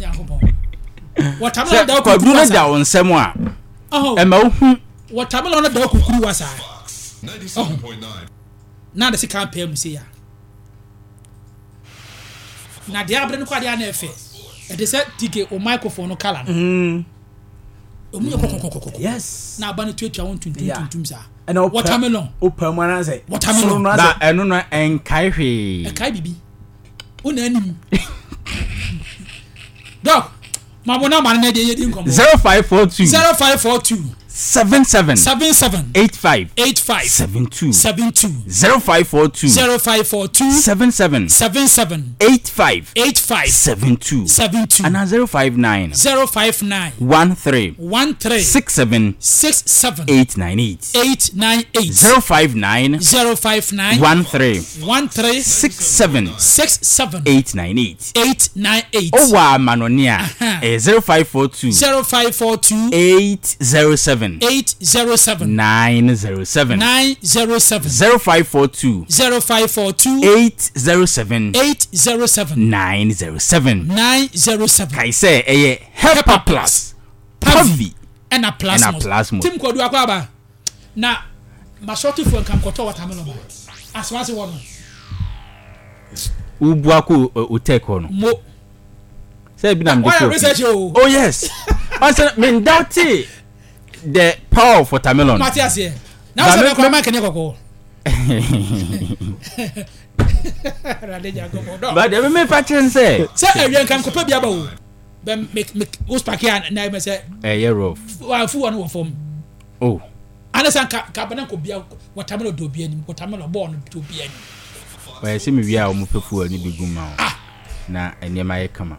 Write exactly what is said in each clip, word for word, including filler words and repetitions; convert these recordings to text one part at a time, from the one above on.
Nyankopɔn, watermelon Sɛ da kwadu kukuru no wa da saa. wo nsɛm a, Ɔhɔ. ɛma wohu. Watermelon no da kukuru wa saa. Ɔhɔ na de sika pɛɛ mu se ya na deɛ abere no kɔ adeɛ ana ɛfɛ ɛde sɛ tike o microphone no colour no ɔmu yɛ kɔkɔkɔkɔkɔ. Yes na aba no tuatua wɔn tuntum Yeah. tuntum saa. Ɛna wopɛ- Watermelon. wopɛ mu anaasɛ Watermelon. soro no Ba asɛ ɛno no ɛnkae hwee. Ɛkae bibi wo na anim dɔk mabo na amane na ɛdeɛ yɛdi nkɔmmɔ. Zero five four two. Zero five four two. Seven seven. Seven seven. Eight five. Eight five. Seven two. Seven two. Zero five four two. Zero five four two. Seven seven. Seven seven. Eight five. Eight five. Seven two. Seven two. Ana zero five nine. Zero five nine. One three. One three. Six seven. Six seven. Eight nine eight. Eight nine eight. Zero five nine. Zero five nine. One three. One three. Six seven. Six seven. Eight nine eight. Eight nine eight. Ɔwɔ amanɔne a, Aha. ɛyɛ zero five four two. Zero five four two. Eight zero seven. Eight zero seven. Nine zero seven. Nine zero seven. Zero five four two. Zero five four two. Eight zero seven. Eight zero seven. Nine zero seven. Nine zero seven. Kae sɛ ɛyɛ Hepa Plus, Pavi ɛna Plasmos. Ɛna Plasmos. Tim Kɔdu akɔ aba na masɔtifoɔ nka nkɔtɔ watermelon ba asomase wɔ no. Wobua kɔ otek hɔ no. Mo Sɛ ebi na mede wɔyɛ kɔ research o. Oh yes, ɔsɛ mendaute the power of watermelon. Mate aseɛ na Ba wosɛ me- mɛkɔ ama kɛne kɔkɔɔ Awurade Nyankopɔn, dɔ. But ɛmi mepa kyerɛ n sɛ sɛ awia nka nkɔpɛ bi aba o bɛ me me wo spaki a na ɛmɛ sɛ ɛyɛ rough. Wafu wɔ no wɔ fam. Oh. Ana sɛ nka nka bɛnɛ nkɔ bia watermelon do obi anim, watermelon bɔɔl no do obi anim. Ɔyɛ sɛ mewie a, ɔmo pɛ fuel no bi gu ma wo na nneɛma yɛ kama,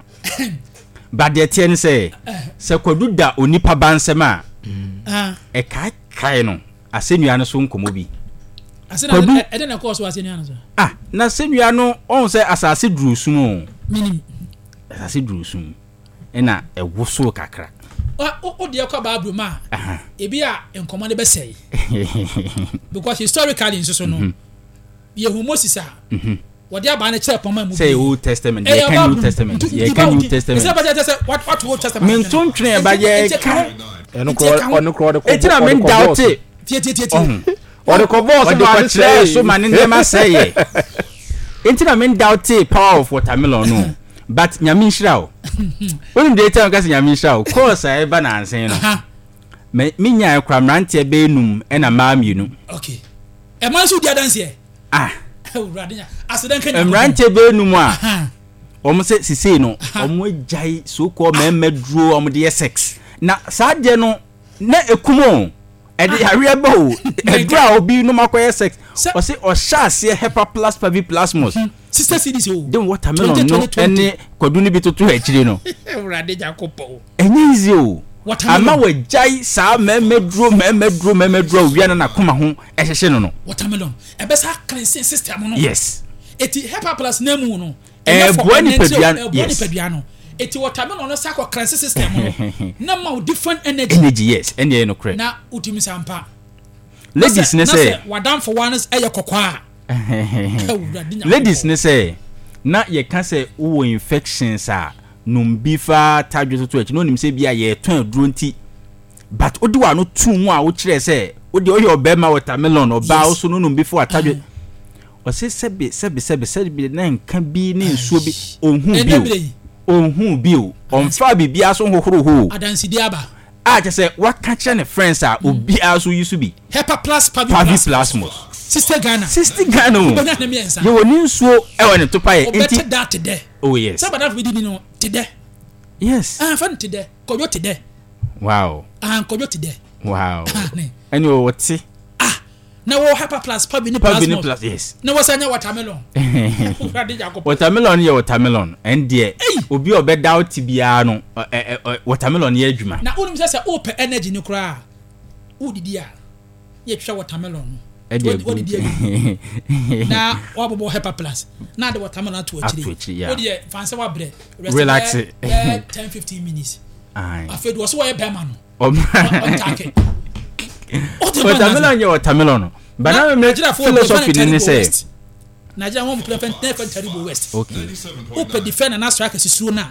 but deɛ teɛ ne sɛ sɛ kwadu da onipa ba nsɛm a, Ah. ɛkaekae no asɛnnua no so nkɔmmɔ bi. Ase na Kwadu- ɛdɛ na ɛkɔɔ so asɛnnua no so. Ah, na asɛnnua no, ɔhu sɛ asase duru sum o. Menim. Asase duru sum ɛna ɛwosow kakra. Wa- wo wo deɛ kɔ Bible mu a, Aha. ebi a nkɔmmɔ no bɛsɛe because historically nso so no, yɛhu Moses a wɔde abaa no kyerɛ pɔma mu. Sɛ yɛ Old Testament, yɛka New Testament, yɛka New Testament. Sɛ bɛsɛ sɛ what what Old Testament? Mento ntwene ɛba yɛka. Ɛno korɔ, ɔno korɔ ɔde kɔ Eti na ɔde kɔ mendaute. bɔɔso. Tie, tie, tie, tie. Ɔho Ɔde kɔ bɔɔso ɔde ma ne kɔkyerɛɛ so sɛe. Ma ne nneɛma sɛeɛ, nti na mendaute power of watermelon no, but Nyame nhyira wo. Wonim deɛ ɛtia meka sɛ Nyame nhyira wo, course a ɛba nansen no, Aha. me menyae kora mmeranteɛ bɛyɛ num ɛna mmaa mmienu. Okay, ɛma nso di adanseɛ. Ah. Awurade nya asedan ka Nyankopɔn. Mmeranteɛ bɛyɛ num a Aha. wɔn sɛ sisei no wɔn agyae so kɔ mmarima duro a wɔn de yɛ sex na saa deɛ no na ekum o, ɛde yareɛ ba o, ɛduro a obi nom akɔyɛ sex. Sɛ- Ɔsɛ ɔhyɛ aseɛ Hepa Plus Pavi Plasmos Sister C Ds o. De watermelon no twenty twenty. ɛne kwadu no bi toto akyire no. Awurade Nyankopɔn. Ɛnyɛ easy o. Watermelon. Ama wagyae saa mmarima duro, mmarima duro, mmarima duro a owia no n'akoma ho ɛhyehyɛ no no. Watermelon ɛbɛsa cleansing system no. Yes. Eti Hepa Plus na mu no Ɛɛboa nipadua no, ɛboa yes. nipadua no. Eti watermelon no sa kɔ cleansing system no na ma wo different energy. Energy, yes, ɛne ɛyɛ nokorɛ. Na wotumi sampa Ladies ne na sɛ sɛ wadamfo wa no ɛyɛ kɔkɔɔ a, Awurade Nyankopɔn. Ladies ne sɛ na yɛka sɛ wowɔ infections a, nom bi fa tadwe toto akyi na onim sɛ bi a yɛtɔn aduro nti, but wode w'ano tuu mu a, wokyerɛ sɛ wode ɔyɛ ɔbɛrima watermelon ɔbaa Yes. wo so no nom bi fa atadwe, ɔse sɛbe sɛbe sɛbe sɛbe na nka bi ne nsuo bi ɔnhu Ɛnɛ bi berɛ yi. o, ɔnhu bi o, ɔmfa biribiara so nhohoro hɔ o. Adansedi aba. A kyerɛ sɛ waka kyerɛ ne friends a, obiara so yi so bi. Hepa Plus Pavi Pavi Plus. Plasmos. Sixty Ghana. Sixty Ghana o. Wobɛnya ne mmiɛnsa. Yɛwɔ ne nsuo ɛwɔ ne topa yɛ nti. Wobɛte da te dɛ. Oh yes. Sɛ badafo bi di ni no te dɛ. Yes. Ah, fa no te dɛ, Kɔdwo te dɛ. Wow. Ah, Nkɔdwo te dɛ. Wow. Ah, ne. Ɛne ɔte. Ah, na wɔ Hepa Plus Pavi ne Pavi ne Plasmos. Plus, yes. Na wɔsɛ nya watermelon, Awurade Nyankopɔn. Watermelon yɛ watermelon, ɛn deɛ Ei! obi a ɔbɛda wo te biara no, ɛ ɛ ɛ watermelon yɛ adwuma. Na wonim sɛ sɛ wopɛ energy no koraa a, wodidi a, yɛtwa watermelon no. Ɛde agu. Wodidi agu na wabobɔ Hepa Plus na ade watermelon ato Ato akyire. akyire, yeah. Wodeɛ fa nsɛ wabrɛ, rest. Relax. Bɛyɛ bɛyɛ ten fifteen minutes. Aye. Afei de wɔso wɔyɛ bɛrima no Ɔm- ɔntake. Watermelon yɛ watermelon no, but na me philosophy ni ne sɛ Nigeria wɔn mu kura fɛn fɛn Taribo West. Okay wopɛ defender na striker sisuo no a